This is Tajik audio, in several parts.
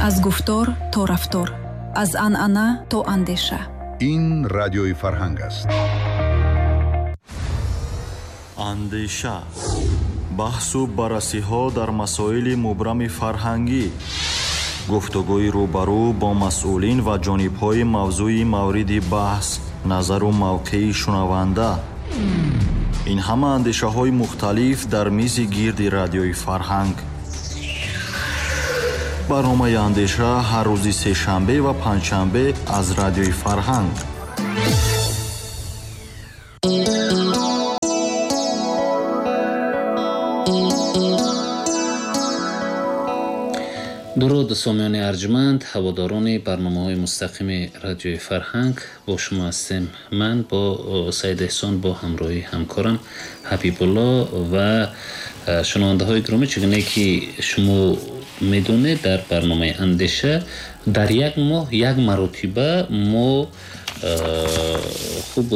Аз гуфтор то рафтор, аз анъана то андеша. Ин Радиои Фарҳанг аст. Андеша, баҳсу баррасиҳо дар масоили мубрами фарҳангӣ, гуфтугӯи рӯбарӯ бо масъулин ва ҷонибҳои мавзӯи мавриди баҳс, назару мавқеи шунаванда. Ин ҳама андешаҳои мухталиф дар мизи гирди Радиои Фарҳанг. Барномаи Андеша ҳар рӯзи сешанбе ва панҷшанбе аз Радиои Фарҳанг. Дуруд, сомиёни арҷманд, ҳаводорони барномаҳои мустақими Радиои Фарҳанг. Бо шумо ҳастем ман бо Саид Эҳсон, бо ҳамроҳии ҳамкорам Ҳабибулло ва шунавандаҳои гиромӣ. Чигуне ки шумо медонед, дар барномаи Андеша дар як моҳ як маротиба мо хуб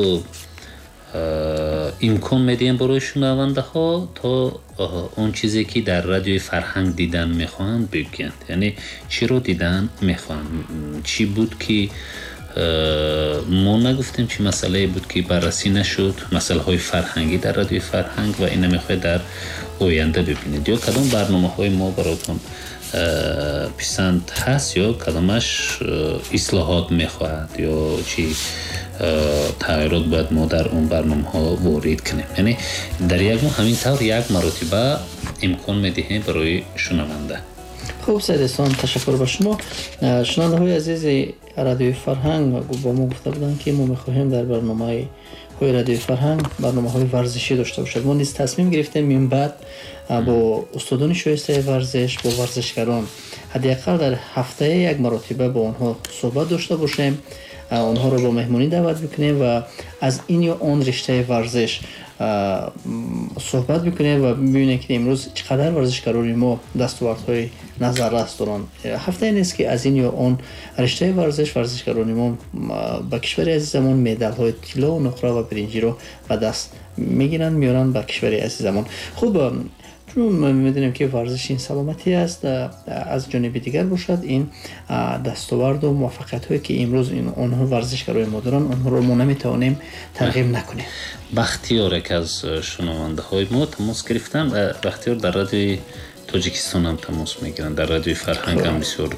имкон медиҳем барои шунавандаҳо то он чизе ки дар Радиои Фарҳанг дидан мехоҳанд бигӯянд. Яъне чиро дидан мехоҳанд, чӣ буд ки мо нагуфтем, чӣ масъалае буд ки баррасӣ нашуд, масъалаҳои фарҳангӣ дар Радиои Фарҳанг ва ина мехоҳед дар оянда бибинед, ё кадом барномаҳои мо бароятон писанд ҳаст, ё кадомаш ислоҳот мехоҳад, ё чӣ тағйирот бояд мо дар он барномаҳо ворид кунем. Яъне дар як моҳ ҳамин тавр як маротиба имкон медиҳем барои шунаванда. Хуб, Саид Эҳсон, ташаккур ба шумо. Шунавандаҳои азизи Радиои Фарҳанг бо мо гуфта буданд, ки мо мехоҳем дар барномаҳои Радиои Фарҳанг барномаҳои варзишӣ дошта бошад. Мо низ тасмим гирифтем минбаъд бо устодони шоистаи варзиш, бо варзишгарон ҳадди ақал дар ҳафтае як маротиба бо онҳо суҳбат дошта бошем, онҳоро бо меҳмонӣ даъват бикунем ва аз ин ё он риштаи варзиш суҳбат бикунем ва бибинем, ки имрӯз чӣ қадар варзишгарони мо дастовардҳои назаррас доранд. Ҳафтае нест, ки аз ин ё он риштаи варзиш варзишгарони мо ба кишвари азизамон медалҳои тилло, нуқра ва биринҷиро ба даст мегиранд, меоранд ба кишвари азизамон. Хуб, чун медонем, ки варзиш ин саломатӣ аст, аз ҷониби дигар бошад ин дастоварду муваффақиятҳое, ки имрӯз онҳо варзишгарои мо доранд, онҳоро мо наметавонем тарғиб накунем. Бахтиёр, яке аз шунавандаҳои мо, тамос гирифтанд. Бахтиёр дар Радиои Тоҷикистон ҳам тамос мегиранд, дар Радиои Фарҳанг ҳам бисёр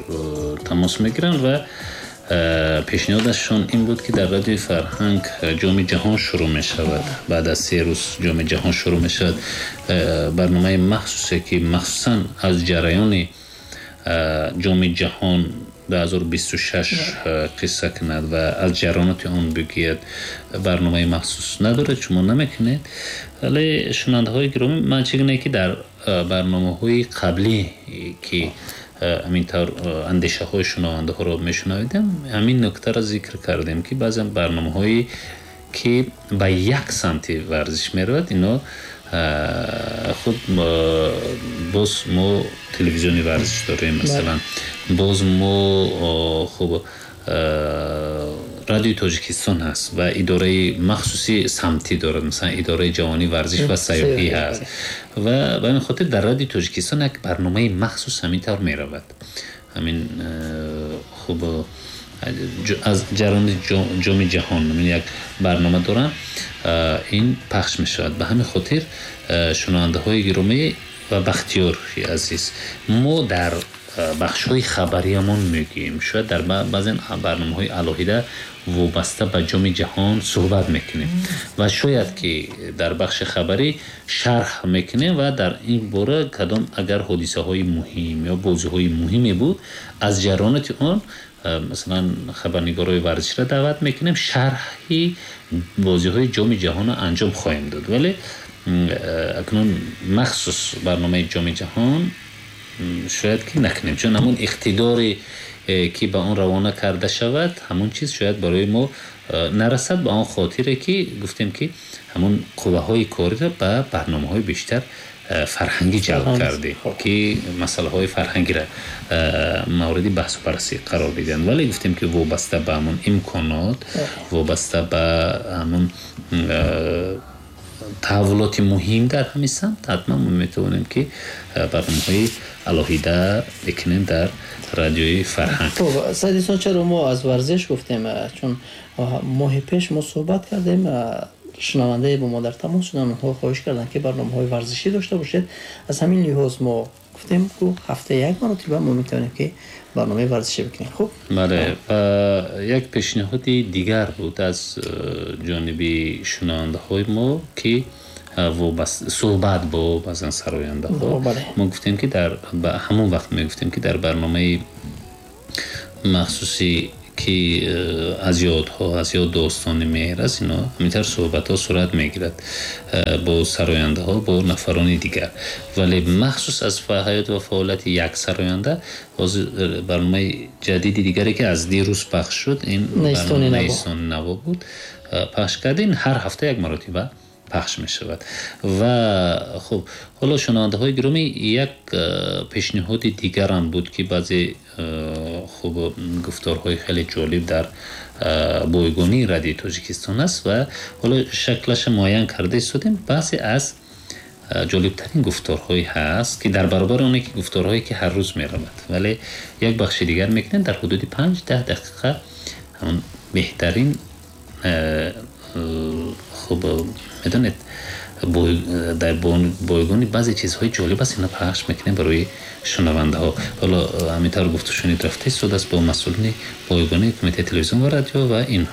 тамос мегиранд ва пешниҳодашон ин буд, ки дар Радиои Фарҳанг Ҷоми ҷаҳон шурӯъ мешавад. Баъд аз 3 рӯз Ҷоми ҷаҳон шурӯъ мешавад. Барномаи махсусе, ки махсусан аз ҷараёни Ҷоми ҷаҳон 2026 қисса кунад ва аз ҷараёноти он бигӯяд, барномаи махсус надорад, шумо намекунед. Вале шунавандаҳои гиромӣ, ман чӣ гуна ки дар барномаҳои қаблӣ, ки ҳамин тавр андешаҳои шунавандаҳоро мешунавидем, ҳамин нуктаро зикр кардем, ки баъзан барномаҳое ки ба як самти варзиш меравад, ино худ боз мо телевизиони варзиш дорем, масалан, боз мо хуб Радиои Тоҷикистон ҳаст ва идораи махсуси самтӣ дорад, масалан идораи ҷавонӣ, варзиш ва сайёҳӣ ҳаст ва ба ҳамин хотир дар Радиои Тоҷикистон як барномаи махсус ҳамин тавр меравад. Ҳамин хуб аз ҷараёни Ҷоми ҷаҳон як барнома доранд, ин пахш мешавад. Ба ҳамин хотир шунавандаҳои гиромӣ ва Бахтиёри азиз, мо дар бахшҳои хабариямон мегӯем, шояд дар баъзен барномаҳои алоҳида вобаста ба Ҷоми ҷаҳон суҳбат мекунем ва шояд ки дар бахши хабарӣ шарҳ мекунем ва дар ин бора кадом агар ҳодисаҳои муҳим ё бозиҳои муҳиме буд, аз ҷараёноти он масалан хабарнигорои варзишро даъват мекунем, шарҳи бозиҳои Ҷоми ҷаҳонро анҷом хоҳем дод. Вале акнун махсус барномаи Ҷоми ҷаҳон шояд ки накунем, чун ҳамон иқтидоре ки ба он равона карда шавад, ҳамон чиз шояд барои мо нарасад, ба он хотире ки гуфтем ки ҳамон қувваҳои кориро ба барномаҳои бештар фарҳангӣ ҷалб кардем, ки масъалаҳои фарҳангиро мавриди баҳсу баррасӣ қарор бидиҳанд. Вале гуфтем ки вобаста ба ҳамон имконот, вобаста ба ҳамон таҳаввулоти муҳим дар ҳамин самт, ҳатман мо метавонем ки барномаҳои алоҳида бикунем дар радиои Фарҳанг. Хуб, Саидисон, чаро мо аз варзиш гуфтем? Чун моҳи пеш мо суҳбат кардем, шунавандаe бо мо дар тамос шуданд, онҳо хоҳиш карданд, ки барномаҳои варзишӣ дошта бошед. Аз ҳамин лиҳоз мо гуфтем, ку ҳафта як маротиба мо метавонем, ки барномаи варзишӣ бикунем. Хуб. Бале, ва як пешниҳоди дигар буд аз ҷониби шунавандаҳои мо, ки суҳбат бо баъзан сарояндаҳо. Мо гуфтем, ки дар ҳамон вақт мегуфтем, ки дар барномаи махсуси, ки аз ёдҳо, аз ёд достони меҳр аст, ино ҳаминтавр суҳбатҳо сурат мегирад бо сарояндаҳо, бо нафарони дигар, вале махсус аз ҳаёт ва фаъолияти як сароянда ҳозир барномаи ҷадиди дигаре, ки аз дирӯз пахш шуд, ин Найистони наво буд, пахш кардем. Ҳар ҳафта як маротиба пахш мешавад. Ва хуб, ҳоло, шунавандаҳои гиромӣ, як пешниҳоди дигарам буд, ки баъзе хуб гуфторҳои хеле ҷолиб дар бойгонии Радиои Тоҷикистон аст ва ҳоло шаклаша муайян карда истодем. Баъзе аз ҷолибтарин гуфторҳое ҳаст, ки дар баробари оне ки гуфторҳое, ки ҳар рӯз меравад, вале як бахши дигар мекунем, дар ҳудуди 5-10 дақиқа ҳамон беҳтарин, хуб медонед, дар бойгони баъзе чизҳои ҷолиб аст, ина пахш мекунем барои шунавандаҳо. Ҳоло ҳамин тавр гуфтушунид рафта истодааст бо масъулини бойгони Кумитаи телевизион ва радио ва ин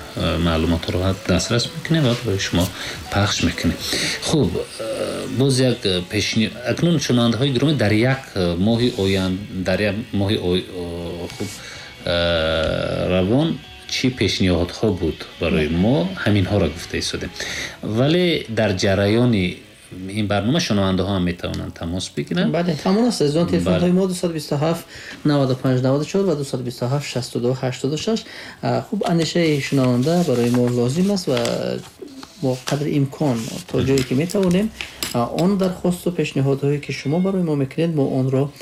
маълумотҳоро дастрас мекунем ва барои шумо пахш мекунем. Хуб, боз як пешни акнун, шунавандаҳои гиромӣ, дар як моҳи оянд, дар як моҳи, хуб, равон чӣ пешниҳодҳо буд барои мо, ҳаминҳоро гуфта истодем, вале дар ҷараёни ин барнома шунавандаҳо ҳам метавонанд тамос бигиранд. Бале, ҳамон аст, азизон, телефонҳои мо 227 95 94 ва 227 62 86. Хуб, андешаи шунаванда барои мо лозим аст ва мо қадри имкон, то ҷое ки метавонем, он дархосту пешниҳодҳое, ки шумо барои мо мекунед, мо онро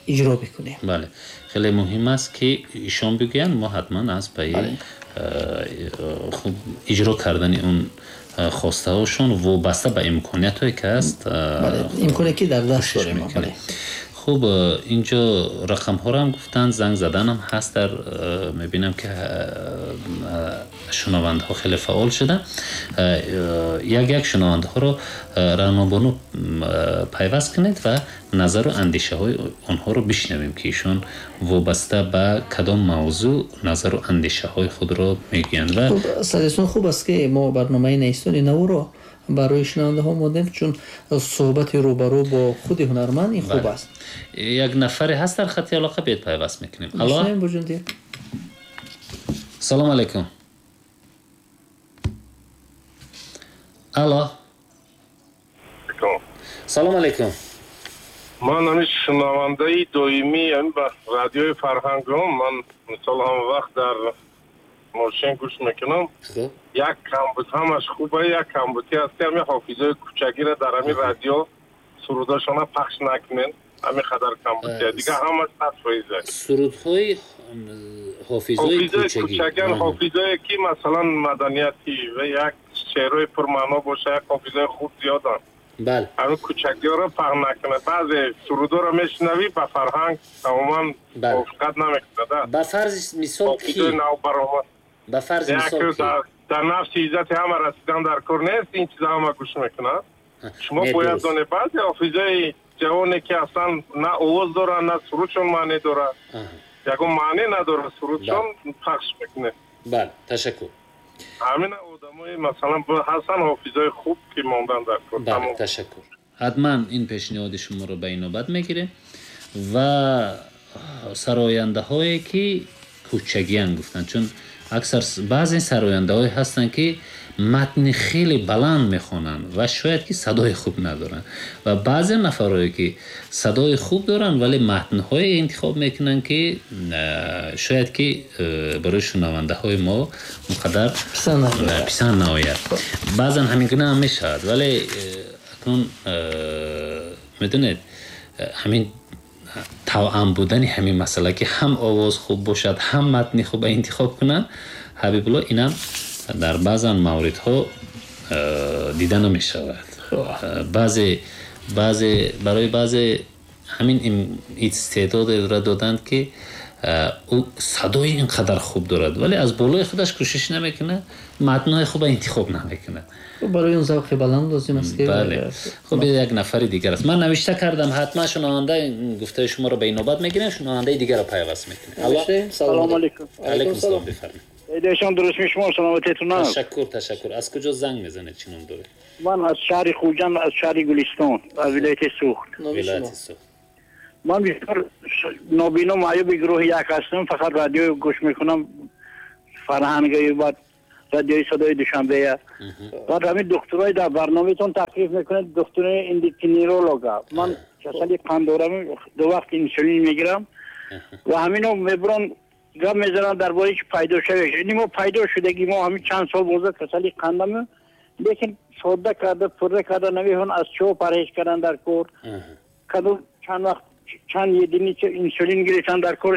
иҷро бикунем. Бале, хеле муҳим аст, ки ишон бигӯянд, мо ҳатман аз пайи хуб иҷро кардани он хостаҳошон вобаста ба имкониятҳое, ки аст. Имконе, ки дар даст дорем. Хуб, инҷо рақамҳоро ҳам гуфтанд, занг заданам ҳаст. Дар мебинам, ки шунавандаҳо хеле фаъол шуданд. Як як шунавандаҳоро, Раънобону, пайваст кунед ва назару андешаҳои онҳоро бишнавем, ки ишон вобаста ба кадом мавзӯъ назару андешаҳои худро мегӯянд. Ва Садисон, хуб аст, ки мо барномаи Найистони наворо барои шунавандаҳо мондем, чун суҳбати рӯбарӯ бо худи ҳунарманд ин хуб аст. Як нафаре ҳаст дар хати алоқа, биёед пайваст мекунем. Алло, салом алейкум. Алло, салом алейкум. Ман ҳамин шунавандаи доимии ҳамин ба Радиои Фарҳангам. Ман мисол ҳама вақт дар мошин гӯш мекунам. Як камбуд, ҳамаш хуба, як камбудӣ ҳаст, ки ҳамин ҳофизои кӯчагиро дар ҳамин радио сурудошона пахш накунен. Ҳамин қадар камбудия, дигар ҳамаш 100%. Сурудҳои ҳофизои кӯчагиан, ҳофизое, ки масалан маданияти ва як шеърҳои пурмаъно боша, як ҳофизои хуб зиёданд. Бале, ҳамин кӯчагиҳоро пахш накунад. Баъзе сурудҳоро мешунавӣ, ба фарҳанг тамоман мувофиқат намекунад. Ба фарзи мисол ки? Навбаромад. Ба фарзи мисол ки? Дар нафси иззати ҳама расидан дар кор нест, ин чиза ҳама гӯш мекунад. Шумо бояд донед, баъзе ҳофизои ҷавоне, ки аслан на овоз доранд, на сурудшон маъне дорад, ягон маъне надорад сурудшон, пахш мекунед. Бале, ташаккур. Ҳамин одамои масалан ҳастанд ҳофизои хуб, ки мондан дар кор. Бале, ташаккур. Ҳатман ин пешниҳоди шуморо ба инобат мегирем ва сарояндаҳое, ки кӯчагиян гуфтанд, чун аксар баъзе сарояндаҳое ҳастанд, ки матни хеле баланд мехонанд ва шояд ки садои хуб надоранд, ва баъзе нафарое, ки садои хуб доранд, вале матнҳое интихоб мекунанд, ки шояд ки барои шунавандаҳои мо он қадар писанд наояд. Баъзан ҳамин гуна ҳам мешавад, вале акнун медонед, ҳамин тавъам будани ҳамин масъала, ки ҳам овоз хуб бошад, ҳам матни хуб интихоб кунанд, Ҳабибулло, инам дар баъзан мавридҳо Дида намешавад. Баъзе барои баъзе ҳамин истеъдодро доданд, ки ӯ садои ин қадар хуб дорад, вале аз болои худаш кӯшиш намекунад, матнҳои хуб интихоб намекунад. Барои он завқи баланд лозим аст ки. Бале. Хуб, як нафари дигар аст. Ман навишта кардам, ҳатман шунаванда гуфтаи шуморо ба инобат мегирем, шунавандаи дигарро пайваст мекунем. Салом алейкум. Алейкум салом, бифармоед. Эдешон дуруст мешумо, саломатитон аст. Ташаккур, ташаккур. Аз куҷо занг мезанед, чӣ ном доред? Ман аз шаҳри Хуҷанд, аз шаҳри Гулистон, аз вилояти Суғд. Вилояти Суғд. Ман бисёр нобино, маъюби гурӯҳи як ҳастам, фақат радио гӯш мекунам, фарҳанги, баъд радиои садои Душанбея. Баъд ҳамин духтурои дар барномаатон таклиф мекунад, духтурои эндокринолога. Ман касали қанд дорам, ду вақт инсулин мегирам ва ҳамино мебарон гап мезананд дар бораи ки пайдо шавиш. Ин мо пайдо шудагӣ, мо ҳамин чанд сол боза касали қандам, лекин содда карда, пурра карда намехоҳанд, аз чо парҳез кардан дар кор. Кадом чанд вақт чанд единица инсулин гирифтан дар кор,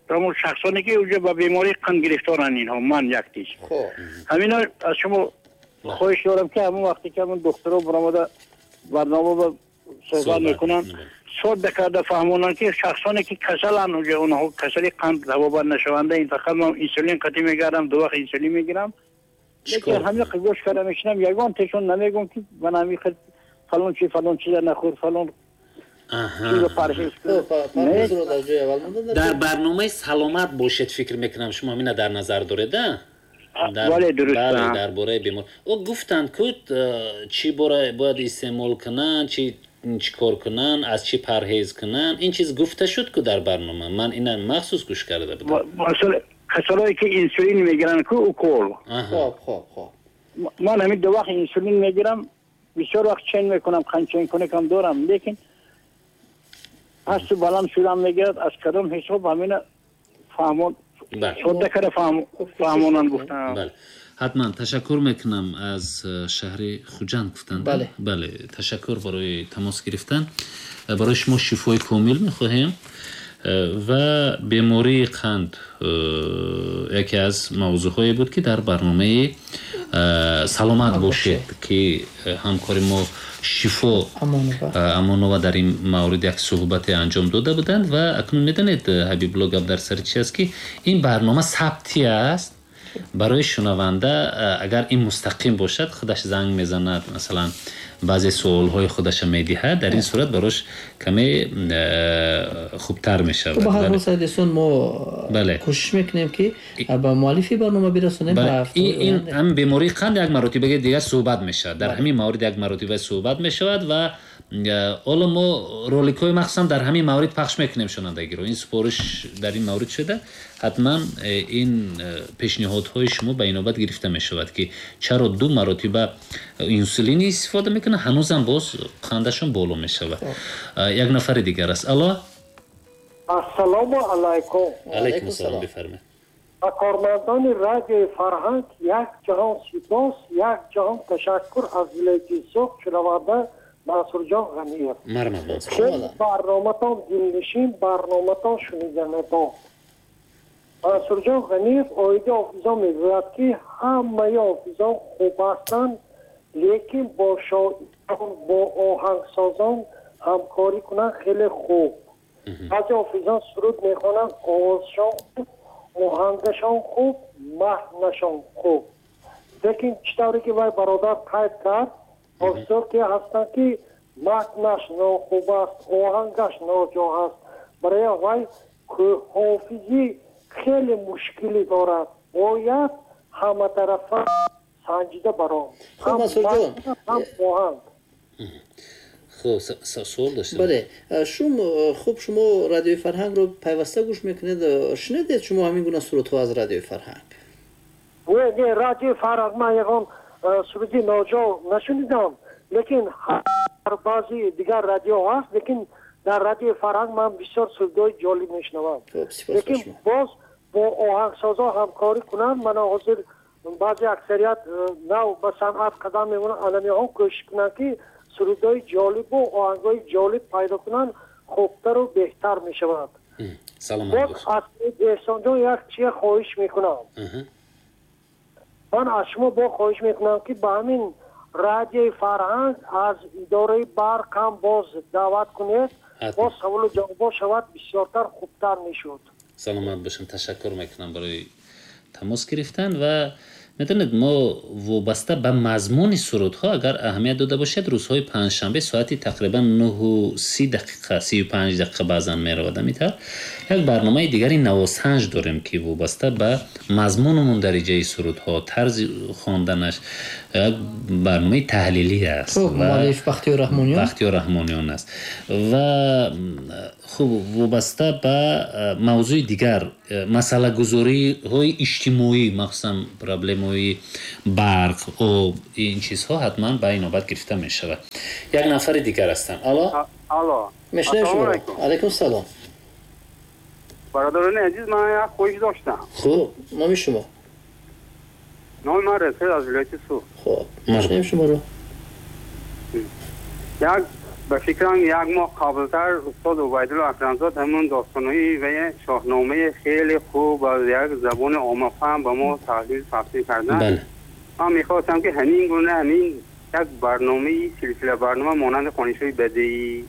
ҳамон шахсоне ки уже ба бемории қанд гирифторанд инҳо, ман яктиш. Ҳамино аз шумо хоҳиш дорам, ки ҳамон вақте ки ҳамон духтуро баромада барнома ба суҳбат мекунанд, содда карда фаҳмонанд, ки шахсоне ки касаланд, уже онҳо касали қанд табобат нашаванда, ин фақат ман инсулин қатъӣ мегардам, ду вақт инсулин мегирам. Лекин ҳамин гӯш карда мешинам, ягон тешон намегӯм, ки ман ҳамин фалон чи, фалон чиза нахӯр, фалон. Дар барномаи саломат бошед, фикр мекунам шумо ҳамина дар назар доред, а? Бале, дуруст. Бале, дар бораи бемор. Ӯ гуфтанд, ки чӣ бояд истеъмол кунанд, чӣ кор кунанд, аз чӣ парҳез кунанд. Ин чиз гуфта шуд ку дар барнома. Ман ина махсус гӯш карда будам. Масалан, касалое ки инсулин мегиранд ку укол. Хоб, хоб, хоб. Ман ҳамин ду вақт инсулин мегирам, бисёр вақт чен мекунам, қанд ченкунакам дорам, лекин пасту баланд шудан мегирад, аз кадом ҳисоб ҳамина фаҳмон содда карда фаҳмонанд гуфтам. Бале, ҳатман ташаккур мекунам. Аз шаҳри Хуҷанд гуфтанд. Бале, бале, ташаккур барои тамос гирифтан. Барои шумо шифои комил мехоҳем ва бемории қанд яке аз мавзӯъҳое буд, ки дар барномаи саломат бошед, ки ҳамкори мо Шифо Амонова дар ин маврид як суҳбате анҷом дода буданд. Ва акнун медонед, Ҳабибулло, гап дар сари чи аст, ки ин барнома сабтӣ аст. Барои шунаванда агар ин мустақим бошад, худаш занг мезанад, масалан баъзе суолҳои худаша медиҳад, дар ин сурат барош каме хубтар мешавад. Ба ҳар ҳол, Саидесон, мо кӯшиш мекунем, ки ба муаллифи барнома бирасонем. Ин ҳам бемории қанд як маротибаи дигар суҳбат мешавад, дар ҳамин маврид як маротиба суҳбат мешавад ва ҳоло мо роликҳои махсусан дар ҳамин маврид пахш мекунем шунавандагиро. Ин супориш дар ин маврид шуда, ҳатман ин пешниҳодҳои шумо ба инобат гирифта мешавад, ки чаро ду маротиба инсулин истифода мекунанд, ҳанӯзам боз қандашон боло мешавад. Як нафари дигар аст. Алло, ассалому алайкум. Алайкум салом, бифармоед. Ба кормандони радиои Фарҳанг як ҷаҳон сипос, як ҷаҳон ташаккур. Аз вилояти Суғд шунаванда Мансурҷон Ғаниев. Марҳамат, Мансур. Хеле барноматон дилнишин, барноматон шуниданабо. Мансурҷон Ғаниев оиди ҳофизон мегӯяд, ки ҳамаи ҳофизон хуб ҳастанд, лекин бо шоирон, бо оҳангсозон ҳамкорӣ кунанд хеле хуб. Баъзе ҳофизон суруд мехонанд, овозшон хуб, оҳангашон хуб, маҳнашон хуб. Лекин чӣ тавре ки вай бародар қайд кард, ҳофизон ки ҳастанд, ки матнаш нохуб аст, оҳангаш ноҷо аст, барои вай ҳофизӣ хеле мушкилӣ дорад. Бояд ҳаматарафа санҷида баром. Хуб, Мансурҷон, ҳам оҳанг. Хуб, суол доштем. Бале, шум хуб, шумо радиои Фарҳангро пайваста гӯш мекунед. Шунидед шумо ҳамин гуна сурудҳо аз радиои Фарҳанг? Не, не, радиои Фарҳанг ман ягон суруди ноҷо нашунидам, лекин баъзи дигар радио ҳаст, лекин дар радиои Фарҳанг ман бисёр сурудҳои ҷолиб мешунавам. Лекин боз бо оҳангсозон ҳамкорӣ кунанд. Мана ҳозир баъзе аксарият нав ба санъат қадам мемонанд, аламиҳо кӯшиш кунанд, ки сурудҳои ҷолибу оҳангҳои ҷолиб пайдо кунанд, хубтару беҳтар мешавад. Саломат боз аз Эҳсонҷон як чия хоҳиш мекунам. Ман аз шумо бо хоҳиш мекунам, ки ба ҳамин Радиои Фарҳанг аз идораи барқ ҳам боз даъват кунед, боз саволу ҷавобҳо шавад, бисёртар хубтар мешуд. Саломат бошам, ташаккур мекунам барои тамос гирифтан. Ва медонед, мо вобаста ба мазмуни сурудҳо агар аҳамият дода бошед, рӯзҳои панҷшанбе соати тақрибан 9:30 дақиқа, 35 дақиқа баъзан меравад, ҳамин як барномаи дигари навосанҷ дорем, ки вобаста ба мазмуну мундариҷаи сурудҳо, тарзи хонданаш як барномаи таҳлилӣ аст. Муаллиф Бахтиёр Раҳмониён, Бахтиёр Раҳмониён аст. Ва хуб, вобаста ба мавзӯи дигар, масъалагузориҳои иҷтимоӣ, махсусан проблемаҳои барқ, об, ин чизҳо ҳатман ба инобат гирифта мешавад. Як нафари дигар ҳастам. Алло, алло, мешнавем шуморо. Алайкум салом. Бародарони азиз, ман як хоҳиш доштам. Хуб, номи шумо? Номи ман Расул аз вилояти Суғд. Хуб, мешнавем шуморо. Як ба фикрам як моҳ қаблтар устод Убайдулло Акрамзод ҳамон достонҳои ва шоҳномаи хеле хуб аз як забони оммафаҳм ба мо таҳлил тафсир карданд. Ман мехостам ки ҳамин гуна ҳамин як барномаи силсила барнома монанди хонишҳои бадеӣ,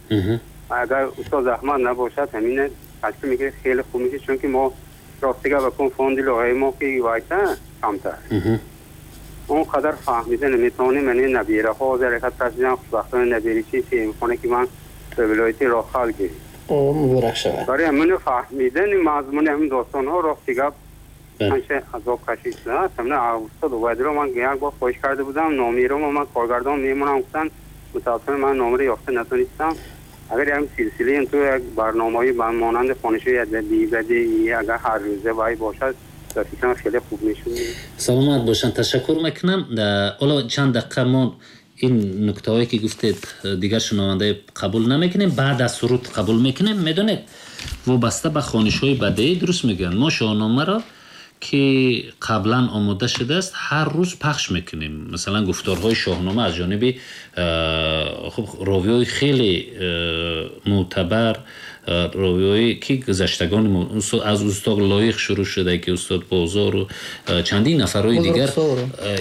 агар устод заҳмат набошад, ҳамин ташкил мекунад, хеле хуб мешавад, чунки мо ростига ба кун фонди лоҳаи мо ки вайта камтар он қадар фаҳмида наметавонем. Ман набираҳо ҳаракат кардам, хушбахтона набиричи сеюмхона ки ман ба вилояти Рохал гирифт. Муборак шавад. Барои ҳамин фаҳмидани мазмуни ҳамин достонҳо рости гап ҳамеша азоб кашид. Ҳамин устод Убайдулло ман як бор хоҳиш карда будам, номиро ман коргардон мемонам гуфтанд, мутаассифона ман номро ёфта натонистам. Агар як силсила ту як барномаҳои монанди хонишҳои адабӣ бадеӣ агар ҳар рӯза вай бошад, фикрам хеле хуб мешуд. Саломат бошанд, ташаккур мекунам. Ҳоло чанд дақиқа мо ин нуктаҳое ки гуфтед дигар шунавандаи қабул намекунем, баъд аз суруд қабул мекунем. Медонед, вобаста ба хонишҳои бадеӣ дуруст мегӯянд, мо шоҳномаро ки қаблан омода шудааст ҳар рӯз пахш мекунем. Масалан, гуфторҳои шоҳнома аз ҷониби хуб ровиҳои хеле мӯътабар, ровиҳое ки гузаштагони аз устод Лоиқ шурӯъ шуда, ки устод Бозору чандин нафарҳои дигар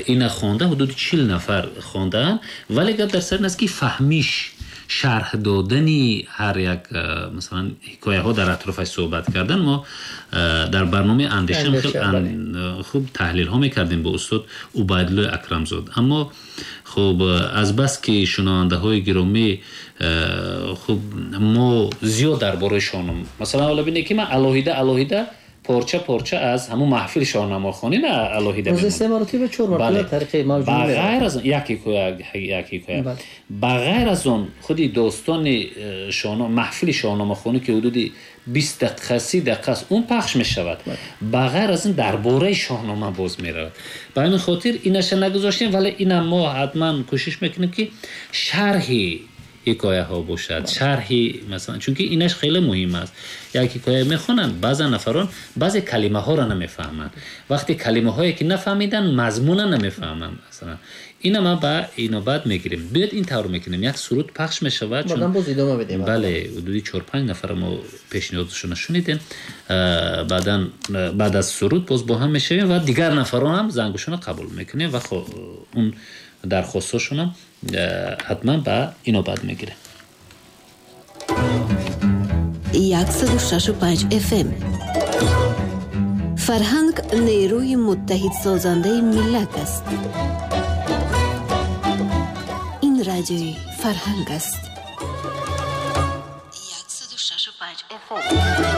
ина хонда, ҳудуди 40 нафар хондаанд. Вале гап дар сар ин аст ки фаҳмиш, шарҳ додани ҳар як масалан ҳикояҳо дар атрофаш суҳбат кардан, мо дар барномаи андеша хуб таҳлилҳо мекардем бо устод Убайдулло Акрамзод. Аммо хуб, аз бас ки шунавандаҳои гиромӣ, хуб мо зиёд дар бораи шоҳнома, масалан ҳоло бинед ки ман алоҳида алоҳида порча порча аз ҳамон маҳфили шоҳномахонӣ на алоҳида мемонад. Се маротиба, чор маротиба тариқи мавҷуд ба ғайр аз як ҳикоя, як ҳикоя. Ба ғайр аз он худи достони шоҳнома, маҳфили шоҳномахонӣ ки ҳудуди 20 дақиқа, 30 дақиқа аст, он пахш мешавад. Ба ғайр аз ин дар бораи шоҳнома боз меравад. Ба ҳамин хотир инаша нагузоштем, вале инам мо ҳатман кӯшиш мекунем ки шарҳи ҳикояҳо бошад, шарҳи масалан, чунки инаш хеле муҳим аст. Як ҳикоя мехонанд, баъзе нафарон баъзе калимаҳоро намефаҳманд. Вақте калимаҳое ки нафаҳмиданд, мазмуна намефаҳманд. Масалан, ина ма ба инобат мегирем. Биёед ин тавр мекунем, як суруд пахш мешавад, чун боз идома медиҳем. Бале, ҳудуди 4-5 нафар мо пешниҳодшонро шунидем. Баъдан баъд аз суруд боз бо ҳам мешавем ва дигар нафарон ҳам зангушонро қабул мекунем ва он дархостҳошонам ҳатман ба инобат мегирем. 106.5 FM Фарҳанг нерӯи муттаҳидсозандаи миллат аст. Ин радиои Фарҳанг аст. 106.5 FM.